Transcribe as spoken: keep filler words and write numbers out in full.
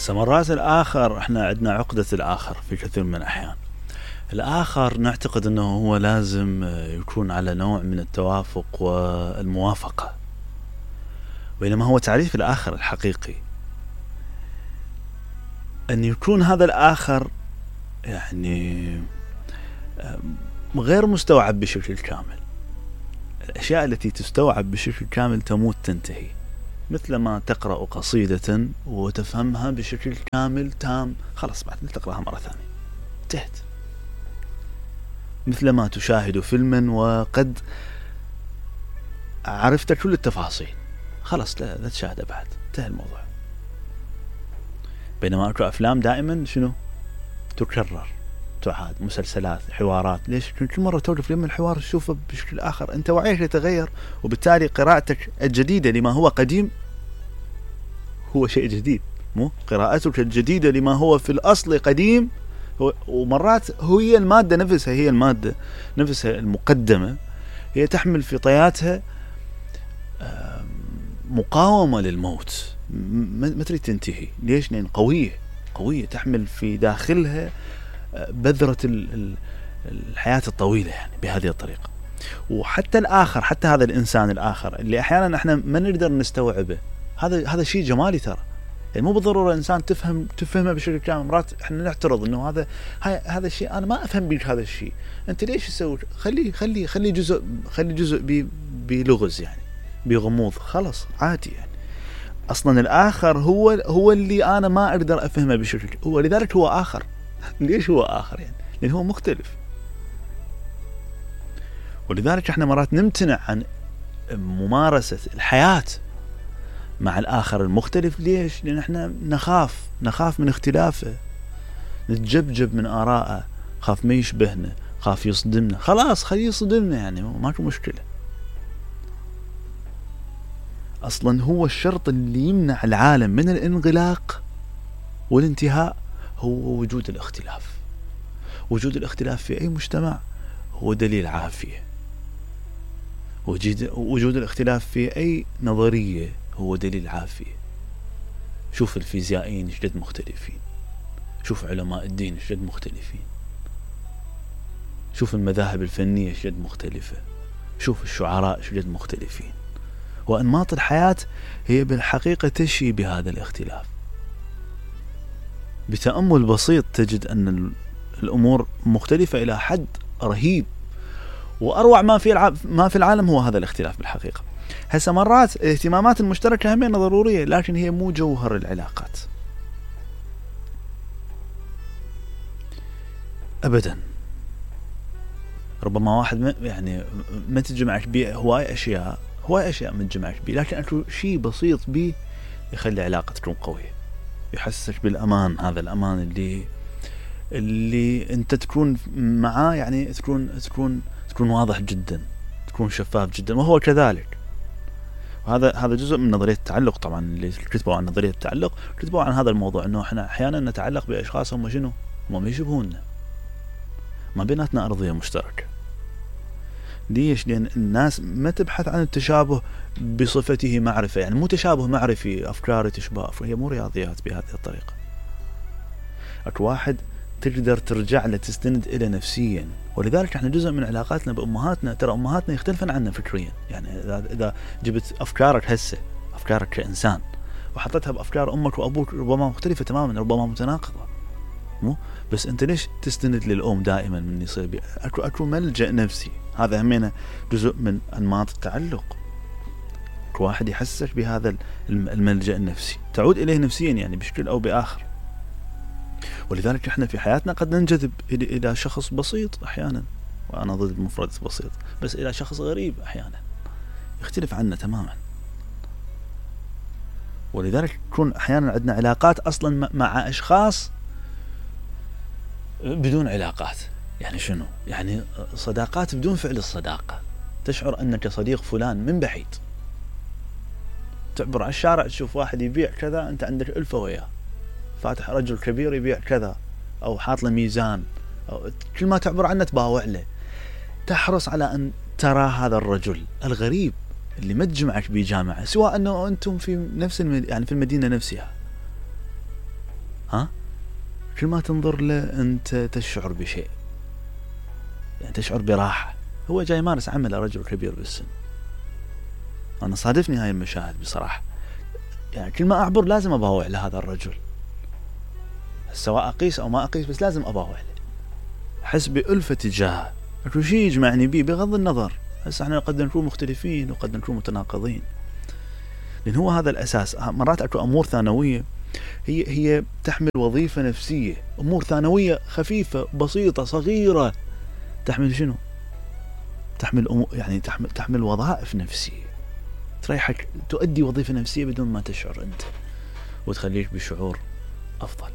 هسه مرات الآخر احنا عندنا عقدة الآخر في كثير من الأحيان. الآخر نعتقد أنه هو لازم يكون على نوع من التوافق والموافقة، بينما هو تعريف الآخر الحقيقي أن يكون هذا الآخر يعني غير مستوعب بشكل كامل. الأشياء التي تستوعب بشكل كامل تموت تنتهي، مثل ما تقرأ قصيدة وتفهمها بشكل كامل تام، خلاص بعد تقرأها مرة ثانية انتهت. مثل ما تشاهد فيلما وقد عرفت كل التفاصيل، خلاص لا, لا تشاهده بعد، انتهى الموضوع. بينما أكو أفلام دائما شنو تكرر تعاد، مسلسلات، حوارات، ليش كل مرة توقف لما الحوار تشوفه بشكل آخر، أنت وعيك يتغير، وبالتالي قراءتك الجديدة لما هو قديم هو شيء جديد، مو قراءتك الجديدة لما هو في الأصل قديم. ومرات هي المادة نفسها هي المادة نفسها المقدمة هي تحمل في طياتها مقاومة للموت، ما تريد تنتهي. ليش؟ لأن قوية قوية تحمل في داخلها بذرة الحياة الطويلة، يعني بهذه الطريقة. وحتى الآخر، حتى هذا الإنسان الآخر اللي أحيانا احنا ما نقدر نستوعبه، هذا هذا شيء جمالي ترى، يعني مو بالضرورة إنسان تفهم تفهمه بشكل كامل. مرات احنا نعترض إنه هذا هذا الشيء أنا ما أفهم بيك هذا الشيء، أنت ليش تسوي؟ خلي خلي خلي جزء خلي جزء بلغز، يعني بغموض، خلاص عادي. يعني أصلا الآخر هو هو اللي أنا ما أقدر أفهمه بشكل، هو لذلك هو آخر. ليش هو آخر؟ يعني لأنه هو مختلف. ولذلك احنا مرات نمتنع عن ممارسة الحياة مع الآخر المختلف. ليش؟ لأن احنا نخاف نخاف من اختلافه، نتجبجب من آراءه، خاف ما يشبهنا، خاف يصدمنا، خلاص خليه يصدمنا، يعني ماكو مشكلة. أصلا هو الشرط اللي يمنع العالم من الانغلاق والانتهاء هو وجود الاختلاف. وجود الاختلاف في أي مجتمع هو دليل عافية. وجود الاختلاف في أي نظرية هو دليل عافية. شوف الفيزيائيين شدد مختلفين، شوف علماء الدين شدد مختلفين، شوف المذاهب الفنية شدد مختلفة، شوف الشعراء شدد مختلفين. وأنماط الحياة هي بالحقيقة تشي بهذا الاختلاف. بتأمل بسيط تجد أن الأمور مختلفة إلى حد رهيب، وأروع ما في الع... ما في العالم هو هذا الاختلاف بالحقيقة. هسه مرات الاهتمامات المشتركة همين ضرورية، لكن هي مو جوهر العلاقات أبدا. ربما واحد ما يعني ما تجمعك بيه هواي أشياء هواي أشياء ما تجمعك بيه، لكن أكو شيء بسيط بيه يخلي علاقة تكون قوية، يحسسك بالأمان. هذا الأمان اللي اللي أنت تكون معاه، يعني تكون تكون تكون واضح جدا، تكون شفاف جدا، وهو كذلك. وهذا هذا جزء من نظرية التعلق طبعا، اللي كتبوا عن نظرية التعلق كتبوا عن هذا الموضوع، إنه إحنا أحيانا نتعلق بأشخاص هم شنو هم يشبهوننا، ما بيناتنا أرضية مشتركة. ليش؟ لأن الناس ما تبحث عن التشابه بصفته معرفة، يعني مو تشابه معرفي أفكار تشبه، هي مو رياضيات بهذه الطريقة. أكو واحد تقدر ترجع له تستند إلى نفسيا. ولذلك احنا جزء من علاقاتنا بأمهاتنا، ترى أمهاتنا يختلفن عنا فكريا. يعني إذا جبت أفكارك هسه، أفكارك كإنسان، وحطيتها بأفكار أمك وأبوك، ربما مختلفة تماما، ربما متناقضة، مو بس أنت ليش تستند للأم دائما من يصير بي؟ أكو أكو ملجأ نفسي. هذا همينة جزء من أنماط التعلق. كل واحد يحسسك بهذا الملجأ النفسي، تعود إليه نفسيا يعني بشكل أو بآخر. ولذلك احنا في حياتنا قد ننجذب إلى شخص بسيط أحيانا، وأنا ضد مفردة بسيط، بس إلى شخص غريب أحيانا يختلف عنا تماما. ولذلك تكون أحيانا عندنا علاقات أصلا مع أشخاص بدون علاقات. يعني شنو؟ يعني صداقات بدون فعل الصداقة. تشعر أنك صديق فلان من بعيد، تعبر على الشارع تشوف واحد يبيع كذا، أنت عندك ألفة وياه، فاتح رجل كبير يبيع كذا، أو حاط له ميزان، أو كل ما تعبر عنه تباوع له. تحرص على أن ترى هذا الرجل الغريب اللي ما تجمعك بجامعة، سواء أنه أنتم في نفس المد... يعني في المدينة نفسها، ها كل ما تنظر له أنت تشعر بشيء، يعني تشعر براحة. هو جاي يمارس عمل رجل كبير بالسن. أنا صادفني هاي المشاهد بصراحة، يعني كل ما أعبر لازم أباوع لهذا الرجل، سواء أقيس أو ما أقيس، بس لازم أباوع له، أحس بألفة تجاهه. أكو شيء يجمعني بيه بغض النظر. هسه احنا قد نكون مختلفين وقد نكون متناقضين، لأن هو هذا الأساس. مرات أكو أمور ثانوية هي هي تحمل وظيفة نفسية، أمور ثانوية خفيفة بسيطة صغيرة تحمل شنو؟ تحمل أمور، يعني تحمل تحمل وظائف نفسية تريحك، تؤدي وظيفة نفسية بدون ما تشعر أنت، وتخليك بشعور أفضل.